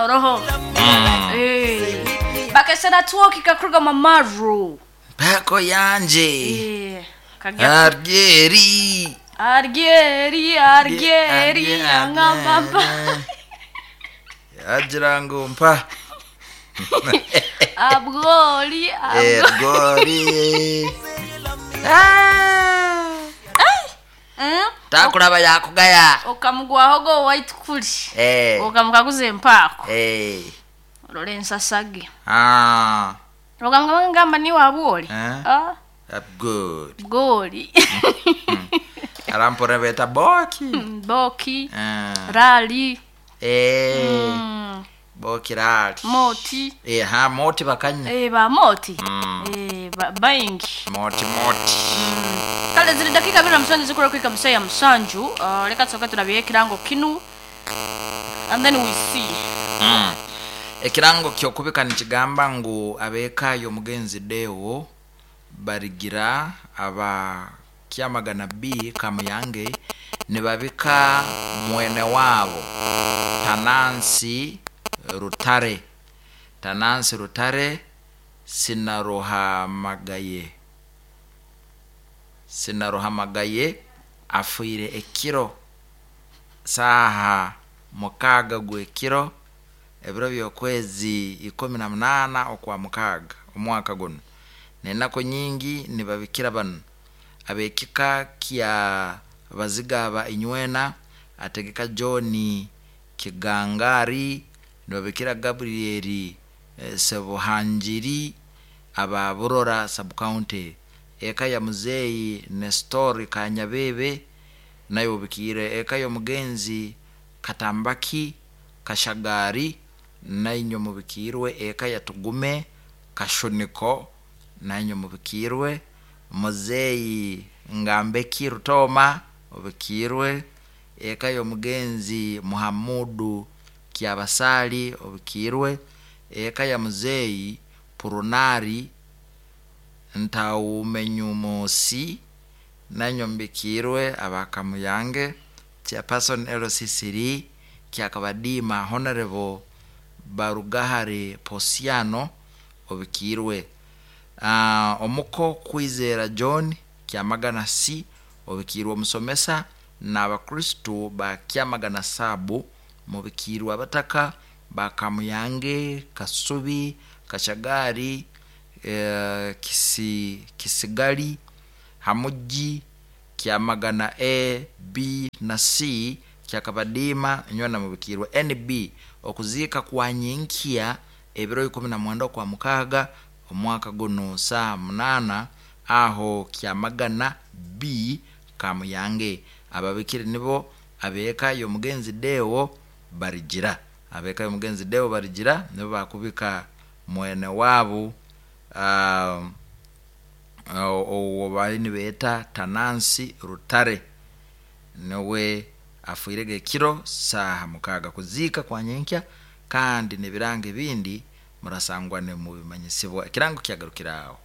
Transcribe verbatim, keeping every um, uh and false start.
Oroho. Eh. Bakesera twoki kakuruga mamaru. Mpako yanje. Eh. Kagya. Argeri. Argeri, argeri, angamba. Agira ngu mpa. Abgoli, abgoli. Ergori. Ah. Mm? Takulaba yakugaya. Okamugwaho go white kuli. Eh. Okamukaguza empaako. Eh. Olole ensasage. Ah. Okamugamba ni wabwoli. Eh? Ah, Good. goli. Arampora beta boki. Boki, Ah. rali, Eh. mm, Boki rali. moti. Eh, ha moti bakanya. Eh, ba moti. Mm. Eh, ba baingi. Moti moti. Kale ziri dakika abiri na musanju zikura kwika musa ya musanju. Uh, leka tusoke turabiye ekirango kinu. And then we see. Mm. Ekirango kyokubika nikigamba ngu abeeka y'omugenzi Deo barigira aba Kyamagana B Kamuyange nibabika mwene waabo Tanansi Rutare Tanansi Rutare sinaruhamagaye sinaruhamagaye afiire ekiro saaha mukaaga gw'ekiro ebiro by'okwezi ikumi na munaana okwa mukaaga omwaka guno n'enaku nyingi nibabikira banu ab'ekika kya Bazigaba Inywena ategeka John Kigangari nibabikira Gabriel eh, Sebuhangiri aba Burora sub-county eka ya muzeeyi Nestor Kanyabebe nayo obikiire eka y'omugenzi Katambaki Kashagari nainyo mubikiirwe eka ya Tugume Kashuniko nainyo mubikiirwe muzeeyi Ngambeki Rutoma obikiirwe eka y'omugenzi Muhamudu Kyabasali obikiirwe eka ya muzeeyi Purunari Ntawumenyumusi nanyo mbikiirwe abakamuyange chairperson L C C D Kyakabadima Honorable Barugahare Posiano obikiirwe uh, omuko Kwizera John Kyamagana C obikiirwe omusomesa n'abakristu ba Kyamagana Sabu mubikiirwe abataka ba Kamuyange Kasubi Kashagari eh, Kisi, Kisigali Hamuji Kyamagana A B na C Kyakabadima nywena mubikiirwe N B okuziika kwa nyinkya ebiro ikumi na mwenda okwa mukaaga omwaka guno saa munaana aho Kyamagana B Kamuyange ababikire nibo abeeka y'omugenzi Deo Barigira abeeka y'omugenzi Deo Barigira nibo bakubika mwene waabo uh, owo bali nibeeta Tanansi Rutare niwe afiirege ekiro saaha mukaaga kuziika kwa nyenkya kandi n'ebirango ebindi murasangwa nimubimanyisibwa ekirango kyagarukira aho.